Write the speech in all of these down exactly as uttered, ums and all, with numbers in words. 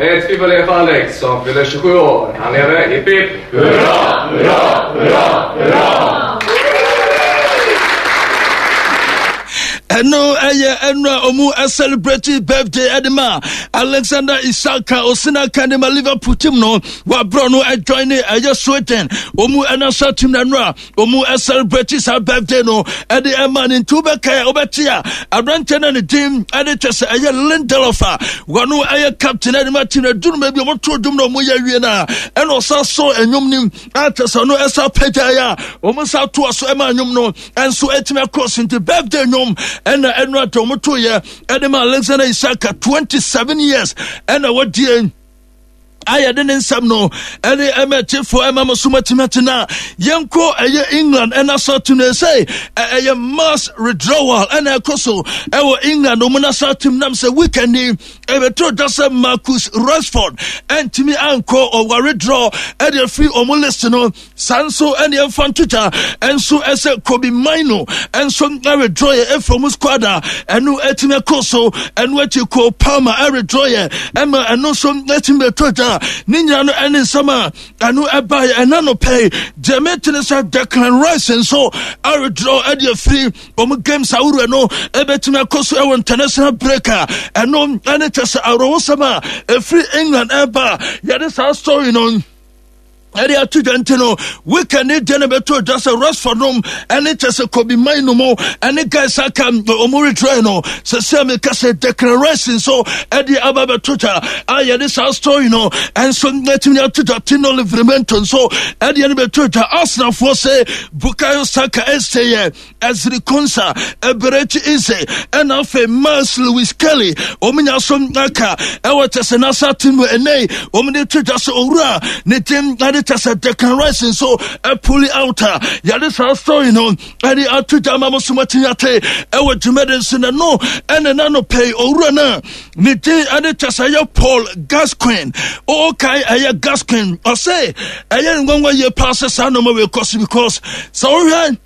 Ett fiffi för Alex som fyller tjugosju år. Han lever. Hipp hipp! Hurra, hurra, hurra, hurra! Ɛno ɛyɛ ɛno a ɔmu celebrate birthday ɛde ma Alexander Isak a osina kan de ma Liverpool team no wabrɔ no ɛjoin ne ɛyɛ Sweden ɔmu ɛnasa team na ɛno a ɔmu celebrate saa birthday no ɛde ɛma ne. Nti wobɛkae a wobɛte a aberanteɛ no ne din ɛde kyɛ sɛ ɛyɛ Lindelof a wɔno ɛyɛ captain ɛde ma team no. Aduru bi ɔmo dwom na ɔmo yɛ awie no a, ɛna ɔsa so ɛnwom nim akyɛ sɛ ɔno ɛsa pagyaeɛ a ɔmo sa toa so ɛma nnwom no ɛnso ɛtumi akɔ so. Nti birthday nnwom ɛna ɛno ata ɔmo toyɛ ɛde ma Alexander Isak, twenty-seven years ɛna wɔdie ayɛ de ne nsɛm no ɛne ɛmɛ kyefoɔ ɛma mo so matumi atena. Yɛnkɔ ɛyɛ England ɛna sɛ no sɛ ɛyɛ mass withdrawal ɛna ɛkɔ so ɛwɔ England ɔmo nasa team nam sɛ weekend ni ɛbɛtɔ da sɛ Marcus Rashford ɛntumi ankɔ, ɔwa withdraw ɛde afiri ɔmo list no. Saa nso ɛne ɛmfa ntotwa ɛnso ɛsɛ Kobbie Mainoo ɛnso ɛwithdraw yɛ ɛfiri ɔmo squad a ɛno ɛtumi ɛkɔ so. Ɛno akyi Cole Palmer ɛwithdraw yɛ ɛma ɛno nso ɛtumi bɛtɔ dwa. Ne nyinaa no ɛne nsɛm a ɛno ɛbaeɛ ɛna no pɛi. Deɛ metene sɛ Declan Rice nso awithdraw ɛde afiri ɔmo games ahoroɔ no ɛbɛtumi akɔ so ɛwɔ international break a ɛno ɛne kyɛ sɛ awerɛhosɛm a ɛfiri England ɛba, yɛde saa story no ɛde ato dwa. Nti no weekend ne deɛ no bɛto dwa sɛ Rashford nom ɛne kyɛ sɛ Kobbie Mainoo mu ɛne guys aka ɔmo retry no sɛ sɛ meka sɛ Declan Rice nso ɛde aba bɛto dwa a yɛde saa story no ɛnso ɛtumi ato dwa. Tino Livramento nso ɛde no bɛto dwa. Arsenalfoɔ sɛ Bukayo Saka ɛsɛ yɛ Ezri Konsa, Eberechi Eze ɛna afei Myles Lewis Skelly wɔn nya so aka ɛwɔ kyɛ sɛ nasa team no. Ɛnɛ wɔn de to dwa sɛ owura ne team ɛde kyɛ sɛ Declan Rice nso ɛpull out a yɛde saa story no ɛde ato dwa ama mo so matumi ate ɛwɔ dwumadi nso. Na no ɛne nano pɛi owura no ne din ɛde kyɛ sɛ ɛyɛ Paul Gascoigne. Ɔɔkae ɛyɛ Gascoigne, ɔsɛ ɛyɛ nwanwa yie paa sɛ saa nneɛma wei kɔ so because sɛ wohwɛ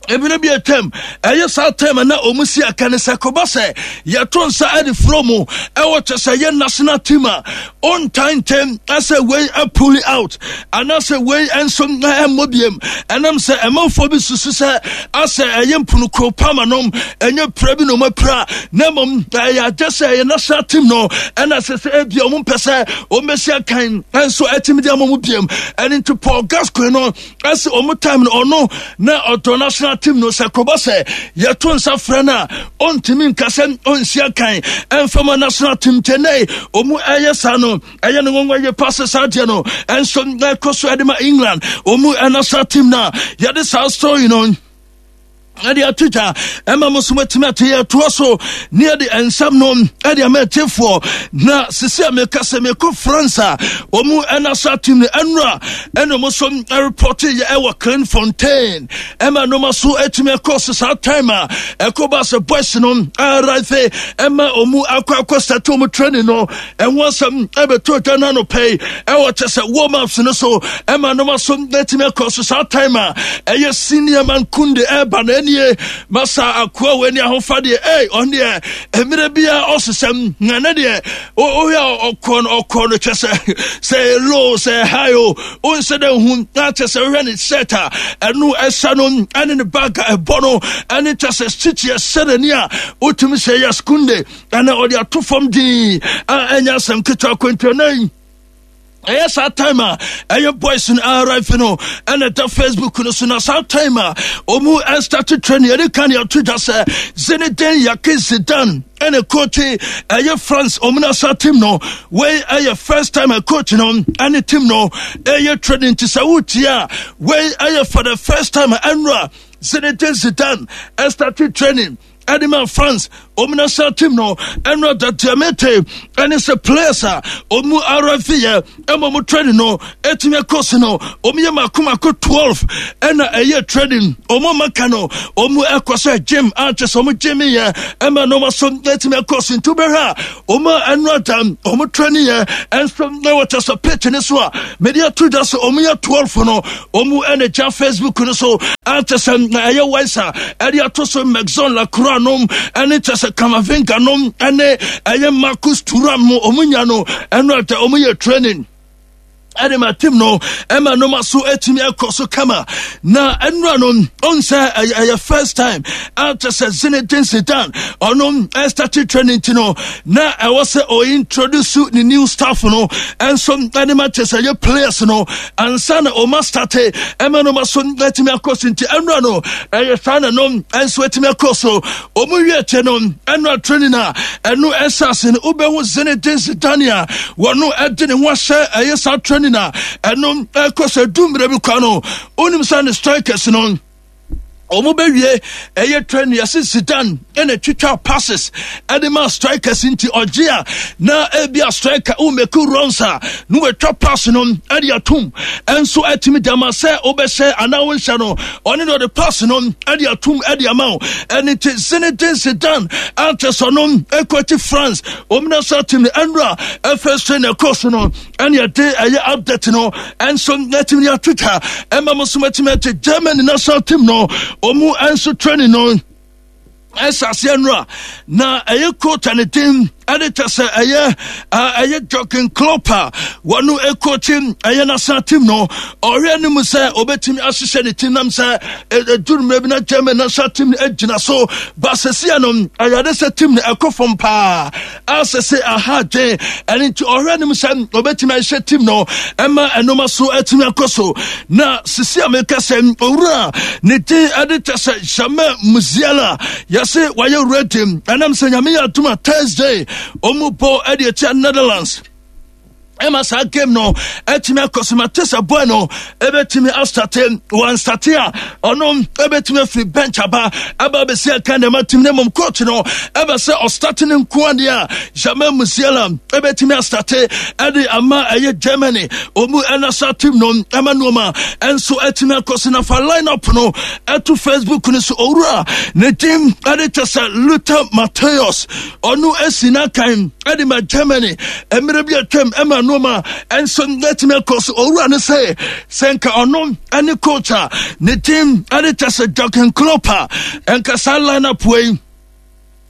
ebire bi atwam ɛyɛ saa time na ɔmu si aka ne sɛ kɔba sɛ yɛto nsa ɛde furo mu ɛwɔ kyɛ sɛ yɛ national team a ɔntan ntɛm ɛsɛ wei apull out anaasɛ wei nso ɛmmɔ biem, ɛnam sɛ ɛmanfoɔ bi susu sɛ asɛ ɛyɛ mpunukuro pama nom ɛnyɛ pira bi na ɔmo apira, na mmom ɛyɛ agye sɛ ɛyɛ national team no ɛna sɛ sɛ ebia ɔmo mpɛ sɛ ɔmo bɛsi akan ɛnso ɛtumi de ama ɔmo biem. Ɛne nti Paul Gascoigne no ɛsɛ ɔmo time no ɔno na ɔdɔ national team no, sɛ kɔbɔ sɛ yɛto nsa frɛ no a ɔntumi nka sɛ ɔnsi akan ɛmfama national team. Kyɛnɛ ɔmu ɛyɛ saa no ɛyɛ no nwanwa yɛ paase saa deɛ no ɛnso ɛkɔ so ɛde ma England ɔmu national team no a yɛde saa story no ɛde ato dwa ɛma mo so matumi ate. Yɛtoa so ne yɛde nsɛm no ɛde ama atiefoɔ. Na sisi a meka sɛ mekɔ France a ɔmu ɛna team no ɛnora ɛna ɔmo so ɛreport yɛ ɛwɔ Clairefontaine ɛma nneɛma so atumi akɔ so. Saa time a ɛkɔ ba sɛ boys no arrive ɛma ɔmu akɔ akɔ start ɔmu training no, ɛho asɛm ɛbɛto dwa no anɔpɛ yi ɛwɔ kyɛ sɛ warm ups no so ɛma nneɛma so atumi akɔ so. Saa time a ɛyɛ senior man Kunde ɛba na ɛnie masa akoa wɔ ani ahofadeɛ ɛy ɔno deɛ mmerɛ biara ɔsesɛm na ne deɛ wohwɛ a ɔkɔ no ɔkɔ no kyɛ sɛ sɛ low sɛ high o wonsɛ dɛ hu na kyɛ sɛ wohwɛ ne shirt a ɛno ɛhyɛ no ɛne ne bag a ɛbɔ no ɛne kyɛ sɛ stitch ɛhyɛ n'ani a wotumi sɛ yɛ Kunde ɛna ɔde ato fam din a ɛnyɛ asɛm ketewa kwantuanan. Ɛyɛ saa time a ɛyɛ boys no arrive no ɛna ɛda Facebook no so. Na saa time a ɔmu ɛstart training, yɛde ka ne ato dwa sɛ Zinedine Yaki Zidane ɛna coach ɛyɛ France ɔmu nasa team no. Wei ɛyɛ first time a coach no ɛne team no ɛyɛ training, nti sɛ wotie a wei ɛyɛ for the first time ɛnora Zinedine Zidane ɛstart training ɛde ma France ɔmu national team no. Ɛno dadiamete ɛne sɛ players a ɔmu arrive yɛ ɛma ɔmu training no ɛtumi akɔ so no, ɔmu yɛ mako mako twelve ɛna ɛyɛ training. Ɔmu maka no ɔmu ɛkɔ sɛ gym a kyɛ sɛ ɔmu gym yɛ ɛma nneɛma so ɛtumi akɔ so. Nti wobɛhwɛ a ɔmu a ɛno ada ɔmu training yɛ ɛnso ɛwɔ kyɛ sɛ pitch ne so a mede ato dwa sɛ ɔmu yɛ twelve no, ɔmu ɛna gya Facebook no so a kyɛ sɛ ɛyɛ wise a ɛde ato so Maxence Lacroix nom ɛne kyɛ kyɛ sɛ Camavinga nom ɛne ɛyɛ Marcus Thuram mo ɔmo nya no ɛno ata ɔmo yɛ training ɛde ma team no ɛma noma so atumi akɔ so kama. Na ɛnura no ɔn sɛ ɛyɛ ɛyɛ first time a kyɛ sɛ Zinedine Zidane ɔno ɛstart training ti no, na ɛwɔ sɛ ɔyɛ introduce ne new staff no ɛnso ɛde ma kyɛ sɛ ɛyɛ players no ansa na ɔma start ɛma noma so atumi akɔ so. Nti ɛnura no ɛyɛ saa na no ɛnso atumi akɔ so. Ɔmo wie kyɛ no, ɛnura training a ɛno ɛhyɛ ase no, wobɛhu Zinedine Zidane a wɔno ɛde ne ho ahyɛ ɛyɛ saa training a ɛno ɛkɔ sɛ du mmerɛ bi kwa no, wonim sɛ ne strikers no ɔmo bɛwie ɛyɛ training, yɛse Zidane ɛna twitwa passes ɛde ma strikers. Nti ɔgye a na ebi a striker womake runs a na wɔatwa pass no ɛde atom, ɛnso ɛtumi de ama sɛ wobɛhyɛ anaa wonhyɛ no, ɔne de ɔde pass no ɛde atom ɛde ama wo. Ɛne nti Zinedine Zidane ankyɛ sɛ ɔno ɛkɔkyi France ɔmo national team no, ɛnura ɛfɛ so na ɛkɔ so no, ɛne ɛde ɛyɛ update no ɛnso ɛtumi de atwitwa ɛma mo so matumi ate. Germany national team no, ɔmo ɛnso training no ɛhyɛ aseɛ no a, na ɛyɛ coach a ne din ɛde kyɛ sɛ ɛyɛ ɛyɛ Jurgen Klopp a wɔno ɛcoach ɛyɛ national team no, ɔhwɛ no mu sɛ ɔbɛtumi ahyehyɛ ne team nam sɛ ɛduru mmerɛ bi na German national team no agyina so ba. Sɛsia no ɛyɛde sɛ team no ɛkɔ fam paa asɛ sɛ aha dwen. Ɛno nti ɔhwɛ no mu sɛ ɔbɛtumi ahyehyɛ team no ɛma ɛnoma so atumi akɔ so. Na sisi a meka sɛ owura ne din ɛde kyɛ sɛ Jamal Musiala, yɛse wayɛ ready, ɛnam sɛ Nyame yɛ adom a Thursday ɔmu bɔ ɛde akyia Netherlands, ɛma saa game no ɛtumi akɔ so. Mate sɛ boy no ɛbɛtumi astart. Wanstart a, ɔno ɛbɛtumi afiri bench aba aba bɛsi aka nneɛma team no. Mmom coach no ɛbɛ sɛ ɔstart ne nko adeɛ a, Jamal Musiala ɛbɛtumi astart ɛde ama ɛyɛ Germany ɔmu ɛna saa team no ɛma nneɛma ɛnso ɛtumi akɔ so. Na fa line up no ɛto Facebook no so. Owura ne din ɛde kyɛ sɛ Lothar Matthäus, ɔno asi n'akan ɛde ma Germany mmerɛ bi atwam ɛma nneɛma ɛnso ɛtumi akɔ so. Owura no sɛ sɛ nka ɔno ɛne coach a ne team ɛde kyɛ sɛ Jurgen Klopp a, ɛnka saa line up wei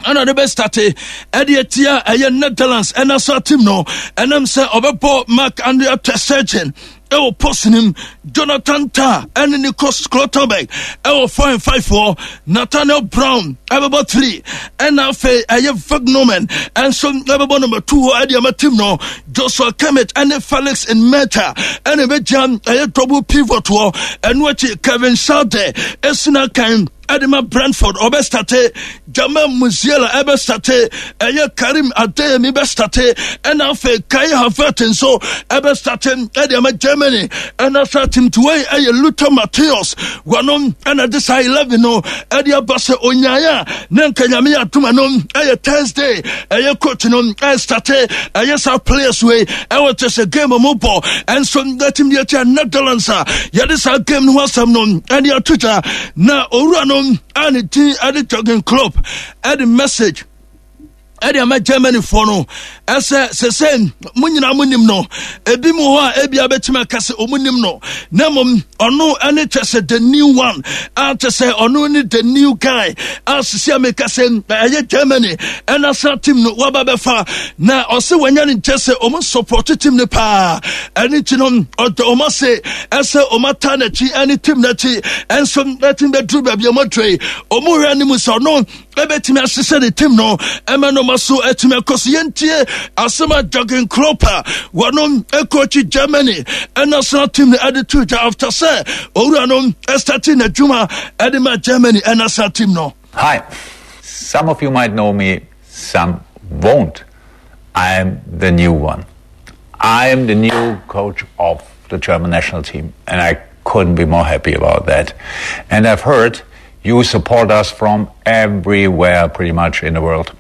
ɛna de bɛstart ɛde atia ɛyɛ Netherlands ɛna so team no. Ɛnam sɛ ɔbɛbɔ Marc Andre ter Stegen ɛwɔ post nim, Jonathan Tah ɛne Nico Schlotterbeck ɛwɔ four and five hɔ, Nathaniel Brown ɛbɛbɔ three, ɛna afei ɛyɛ Vagnoman ɛnso ɛbɛbɔ number two hɔ ɛde ama team no. Joshua Kimmich ɛne Felix Nmecha ɛna ɛbɛgyina ɛyɛ double pivot hɔ. Ɛno akyi Kevin Schade ɛsina kan ɛde ma Brentford, ɔbɛstart. Jamal Musiala ɛbɛstart, ɛyɛ Karim Adeyemi bɛstart, ɛna afei Kai Havertz nso ɛbɛstart ɛde ama Germany ɛna sa team to wei. Ɛyɛ Lothar Matthäus wɔnom ɛna de saa eleven no ɛde aba sɛ onyaeɛ a ne nka Nyame yɛ adoma no ɛyɛ Thursday ɛyɛ coach no ɛstart ɛyɛ saa players wei ɛwɔ kyɛ sɛ game mu bɔ ɛnso ɛteam deɛ kyɛ Netherlands a yɛde saa game no ho asɛm no ɛde ato gya. Na owura no a ne din ɛde Jurgen Klopp ɛde message ɛde ama Germanyfoɔ no ɛsɛ sɛsɛ mo nyinaa mo nim no, ebi mu hɔ a ebi abɛtumi aka sɛ ɔmo nim no, na mmom ɔno ɛne kyɛ sɛ the new one a kyɛ sɛ ɔno ne the new guy a sisi a meka sɛ ɛyɛ Germany ɛna sa team no waba bɛfa. Na ɔsɛ wɔnya ne nkyɛ sɛ ɔmo support team no paa. Ɛne nti no ɔdɔ ɔmo ase ɛsɛ ɔmo ata n'akyi ɛne team n'akyi ɛnso ɛteam bɛduru baabi ɔmo adure. Ɔmo hwɛ anim sɛ ɔno ɛbɛtumi ahyehyɛ ne team no ɛma no ma so ɛtumi akɔ so. Yɛntie asɛm a Jurgen Klopp a wɔno ɛcoach Germany ɛnational team no ɛde to dwa after sɛ owura no ɛstart n'adwuma ɛde ma Germany ɛnational team no. Hi. Some of you might know me, some won't. I'm the new one. I'm the new coach of the German national team, and I couldn't be more happy about that. And I've heard you support us from everywhere, pretty much in the world.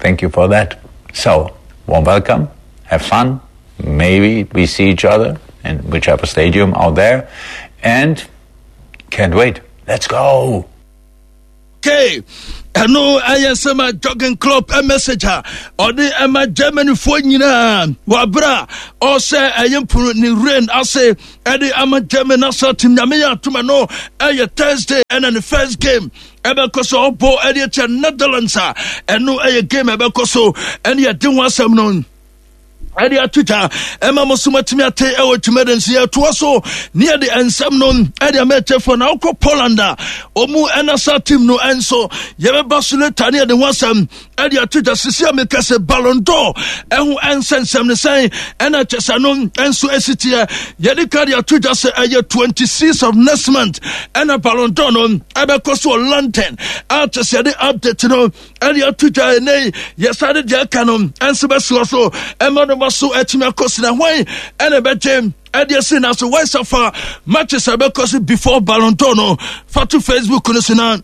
Thank you for that. So, warm welcome, have fun. Maybe we see each other in whichever stadium out there. And can't wait. Let's go. Okay, ɛno ɛyɛ sɛm a Jurgen Klopp message a ɔde ɛma Germanyfoɔ nyinaa wɔaberɛ a ɔsɛ ɛyɛ mpono ne rain ase ɛde ama German national team. Nyame yɛ atoma no ɛyɛ Thursday ɛna ne first game. Ɛbɛkɔ so ɔbɔ ɛde akyɛ Netherlands a ɛno ɛyɛ game ɛbɛkɔ so ɛne yɛde ho asɛm no ɛde ato dwa ɛma mo so matumi ate ɛwɔ dwumadi nso. Yɛtoa so ne yɛde nsɛm no ɛde ama ɛkyɛfoɔ. Na wokɔ Poland a, ɔmu ɛna sa team no ɛnso yɛbɛba so later ne yɛde ho asɛm ɛde ato dwa. Sisi a meka sɛ Ballon d'Or ɛho ɛnsɛnsɛm ne sɛn ɛna kyɛ sɛ no ɛnso ɛsi teɛ, yɛde ka de ato dwa sɛ ɛyɛ twenty-six of next month ɛna Ballon d'Or no ɛbɛkɔ so wɔ London a kyɛ sɛ yɛde update no ɛde ato dwa. Ɛnɛ yɛsa de deɛ aka no ɛnso bɛsoɔ so ɛma no ma so ɛtumi akɔ so na hwan ɛna ɛbɛgye ɛde asi na so wɔnsa matches a ɛbɛkɔ so before Ballon d'Or no fa to Facebook no so na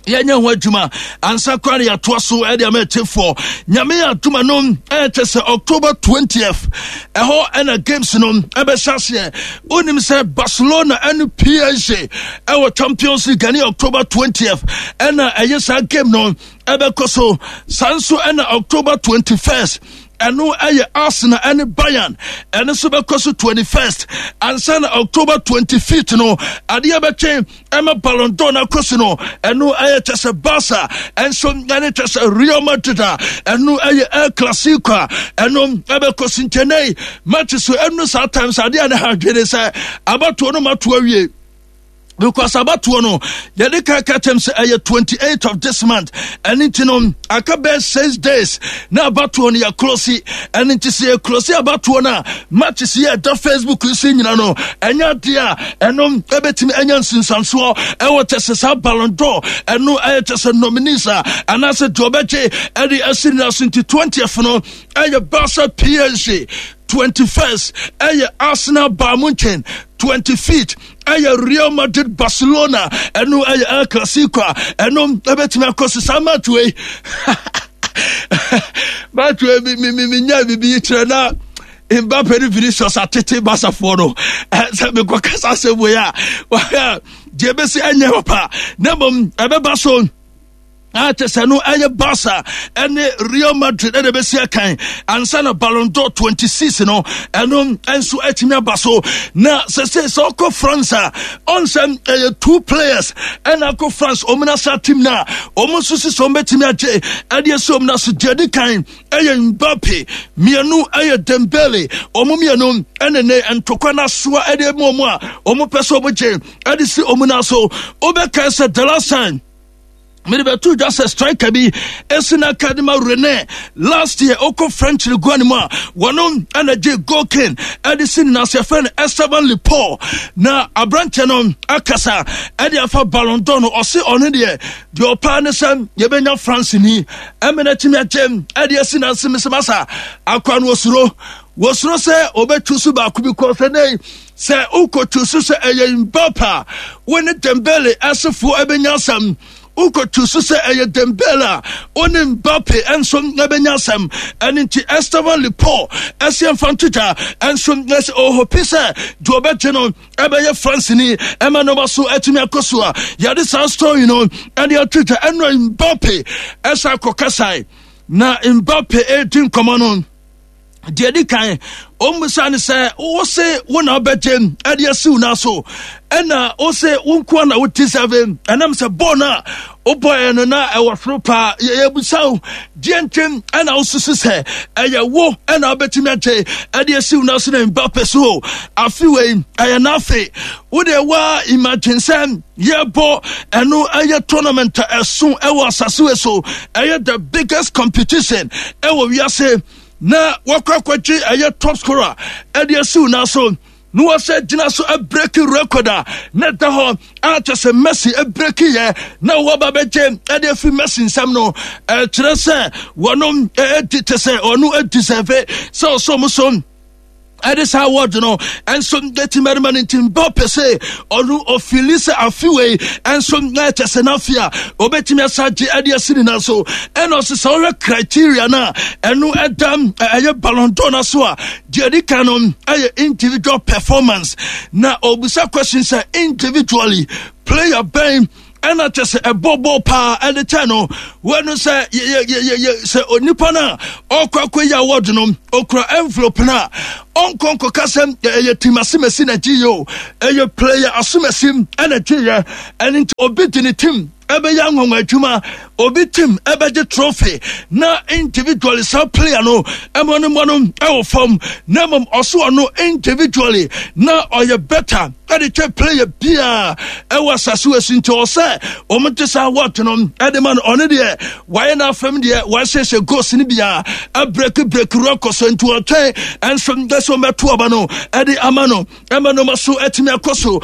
yɛnyɛ ho adwuma ansa koraa ne yɛatoa so ɛde ama akyifoɔ. Nyame yɛ adoma no, ɛkyɛ sɛ October twentieth ɛhɔ ɛna games no ɛbɛhyɛ aseɛ. Wonim sɛ Barcelona ɛne P S G ɛwɔ Champions League ɛne October twentieth ɛna ɛyɛ saa game no ɛbɛkɔ so. Saa nso ɛna October twenty-first ɛno ɛyɛ Arsenal ɛne Bayern, ɛno nso bɛkɔ so twenty-first, ansa na October twenty-fifth no adeɛ bɛtwe ɛma Ballon d'Or no akɔ so no. Ɛno ɛyɛ kyɛ sɛ Barca ɛnso ɛne kyɛ sɛ Real Madrid a ɛno ɛyɛ El Clasico a ɛno ɛbɛkɔ so. Nkyɛnɛ match so ɛno saa times adeɛ a ne ha adwene sɛ abatoɔ no mato awie, because abatoɔ no yɛde ka ka kyɛm sɛ ɛyɛ twenty-eight of this month. Ɛno nti no aka bɛɛ six days na abatoɔ no yɛclose. Ɛno nti sɛ yɛclose abatoɔ no a, matches yɛ ɛda Facebook so nyina no, ɛnyɛ adeɛ a ɛno ɛbɛtumi anya nsunsuansoɔ ɛwɔ kyɛ sɛ saa Ballon d'Or ɛno ɛyɛ kyɛ sɛ nominees a anaasɛ deɛ ɔbɛgye ɛde asi nyina so. Nti twentieth no ɛyɛ Barca P S G, twenty-first ɛyɛ Arsenal Bayern Munchen, twenty-fifth ɛyɛ Real Madrid Barcelona. Ɛno ɛyɛ El Clasico a ɛno ɛbɛtumi akɔ so. Saa match wei match wei mi mi mi nya bibi kyerɛ na Mbappe ne Vinicius atete Barcafoɔ no sɛ mekɔ kasa asɛm wei a deɛ ɛbɛsi ɛnyɛ papa, na mmom ɛbɛba so a kyɛ sɛ no ɛyɛ Barca ɛne Real Madrid ɛna ɛbɛsi akan ansa na Ballon d'Or twenty-six no ɛno nso atumi aba so. Na sɛ sɛ sɛ ɔkɔ France a, ɔnsɛm ɛyɛ two players ɛna akɔ France ɔmo na sa team na ɔmo nso sisi ɔmo bɛtumi agye ɛde asi ɔmo na so. Deɛ di kan ɛyɛ Mbappe, mmienu ɛyɛ Dembele. Ɔmo mmienu ɛna ne ntokwa n'asoa ɛde mu ɔmo a ɔmo pɛ sɛ ɔmo gye ɛde si ɔmo na so. Ɔbɛka sɛ the last time mede bɛto dwa sɛ striker bi ɛsi no aka de ma Rennes last year, ɔkɔ French Ligue one mu a, wɔno ɛna gye goal king ɛde si ne nase, yɛfrɛ no Esteban Lepaul. Na aberanteɛ no akasa ɛde afa Ballon d'Or no. Ɔse ɔno deɛ, deɛ ɔpaa ne sɛ yɛbɛnya France ni ɛmɛ no atumi agye ɛde asi nase. Mesɛ masa akoa no wɔsuro wɔsuro sɛ ɔbɛtwu so baako bi kɔ sɛ nei sɛ wokɔtwu so sɛ ɛyɛ Mbappe a, wo ne Dembele asefoɔ ɛbɛnya asɛm. Wokɔtu so sɛ ɛyɛ Dembele a, wo ne Mbappe nso ɛbɛnya asɛm. Ɛno nti Esteban Lepaul ɛsɛ mfa nto dwa ɛnso ɛsɛ ɔhope sɛ deɛ ɔbɛgye no ɛbɛyɛ France ni ɛma no ba so atumi akɔ so a yɛde saa story no ɛde ato dwa. Ɛno Mbappe ɛsɛ akɔ kasae na Mbappe ɛredi nkɔmmɔ no, deɛ di kan ɔmmusa ne sɛ wo se wo na wobɛgye ɛde asiw no so, ɛna wo se wo nkoa na wo deserve, ɛnam sɛ bɔɔl no a wobɔɛ no na ɛwɔ soro paa. Yɛbusa wo deɛ nti ɛna wosusu sɛ ɛyɛ wo ɛna wobɛtumi agye ɛde asiw no so. Na Mbappe so afe wei ɛyɛ n'afe. Wode waa imagine sɛ yɛbɔ ɛno ɛyɛ tournament a ɛso ɛwɔ asase wei so, ɛyɛ the biggest competition ɛwɔ wiase, na wɔkɔ akɔgye ɛyɛ top scorer ɛde asiw na so na wɔsɛ gyina so abreak record a na ɛda hɔ a kyɛ sɛ Messi abreak yɛ na wɔba bɛgye ɛde afi Messi nsɛm no, ɛkyerɛ sɛ wɔnom ɛdi kyɛ sɛ ɔno adi sɛfe sɛ ɔsɔ mo so ɛde saa award no ɛnso ɛti mmarima no. Nti Mbappe sɛ ɔno ɔfeel sɛ afe wei ɛnso ɛkyɛ sɛ n'afe a ɔbɛtumi asa gye ɛde asi ne nan so. Ɛna ɔsɛ sɛ ɔhwɛ criteria no a ɛno ɛda ɛyɛ Ballon d'Or no so a, deɛ ɛdi kan no ɛyɛ individual performance. Na ɔbusa question sɛ individually player bɛn ɛna kyɛ sɛ ɛbɔ bɔɔl paa ɛde kyɛ no wɔno sɛ yɛ sɛ onipa no a ɔkɔ akɔ yi award no okura envelope no a ɔnkɔ nkɔka sɛ ɛyɛ team asemasi na gye yɛ o, ɛyɛ player asomasi ɛna gye yɛ. Ɛno nti obi de ne team Ɛbɛyɛ anwanwa adwuma, obi team ɛbɛgye trophy na individually saa player no ɛmɔ no mɔ no ɛwɔ fam, na mmom ɔso ɔno individually na ɔyɛ better ɛde kyɛ player biaa ɛwɔ asase wɔ si. Nti ɔsɛ wɔn te saa award no ɛde ma no. Ɔno deɛ, wayɛ n'afɛm deɛ, wahyehyɛ goals no biaa, ɛbreak break record so, nti ɔtwɛn ɛnso dɛ sɛ ɔmɛto ɔba no ɛde ama no, ɛma no ma so ɛtumi akɔ so.